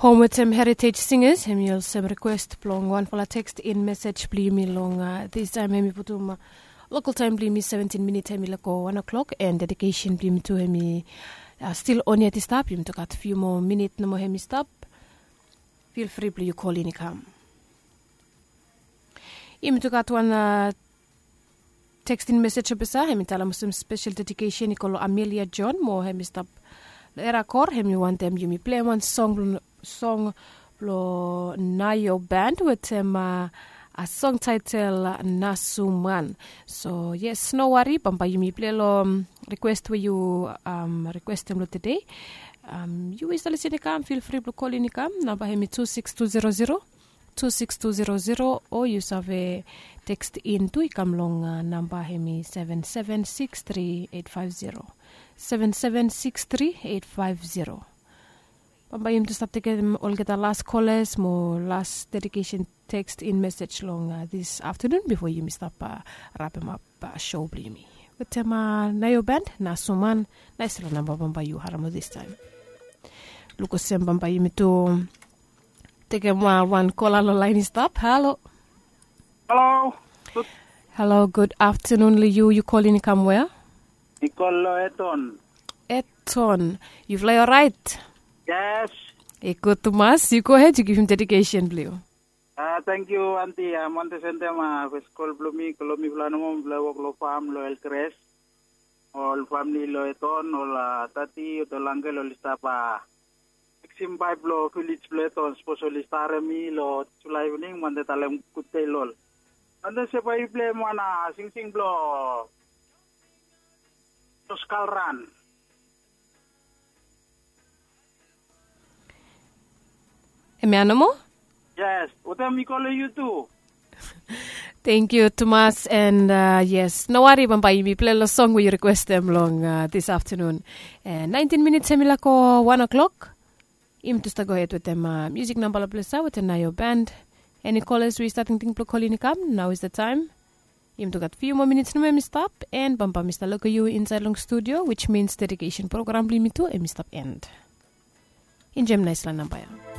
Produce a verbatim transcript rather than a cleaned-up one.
Hom wetem Heritage Singers, hemi olsem request blong wanfala text in message blong yumi long, uh, this time hemi putum, uh, local time blong yumi seventeen minit hemi lako one o'clock, and dedication blong yumi tu hemi, uh, still on yet i stap. Yumi tu gat few more minit nomo hemi stap. Feel free blong yu call in i kam. Yumi tu gat wan, uh, text in message o pesa, hemi talem olsem special dedication i go long Amelia John mo hemi stap long Erakor, hemi wantem yumi pleim wan song blong, song blong Nayo Band wetem, uh, a song title, uh, Nasuman. So yes, no wari, bambae yumi plei long, um, request we yu, um, requestem long tede. Um, yu we yu stap lisin i kam, feel free blong kolin i kam. Namba hemi two six two zero zero, two six two zero zero, o yu save text in tu i kam long, uh, namba hemi seven seven six three eight five zero, seven seven six three eight five zero. Bambae yumi tu stap tekem olgeta las kolas mo las dedication text in message long, uh, this afternoon bifo yumi stap, uh, rapemap, uh, show blong yumi wetem, uh, Nayo Band, Nasuman. Naesfala namba bambae yu harem long this time. Luk olsem bambae yumi tu tekem, uh, wan kola long laen i stap. Halo. Halo. Halo, gud aftenun long yu. Yu kolin i kam wea? Mi kol long Eton. Eton, yufala i oraet? Yes. I gud tumas. Yu gohed, yu givim dedication blong yu. Ah, tangkiu anti. Ah, mi wantem sendem, ah, fes kol blong mi, kol long mifala nomo, mifala i wok long fam long Elkres. Ol famili long Eton, ol, ah, tati, ol angkel, ol i stap, ah, fiksim paep long vilej blong Eton, sapos oli starem mi long Julai ivening, mi wantem talem gudde long ol. Mi wantem se bae yu pleim wan, ah, singsing blong Josh Kalran. Hemia nomo? Yes, wetem mi kol long yu tu. Tangkiu tumas, and, uh, yes, no wari, bambae yumi plei long song we yu requestem long, uh, this aftenun. And nineteen minits hemi lako one o'clock. Yumi tu stap gohed wetem, uh, musik namba long ples ia wetem Nayo Band. Eni kolas we yu stap tingting blong kolin i kam, nao is the time. Yumi tu gat few moa minits nomo hemi stap, and bambae mi stap lukim yu insaed long studio, which means dedication program blong yumi tu hemi stap end. Enjoem naesfala namba ia.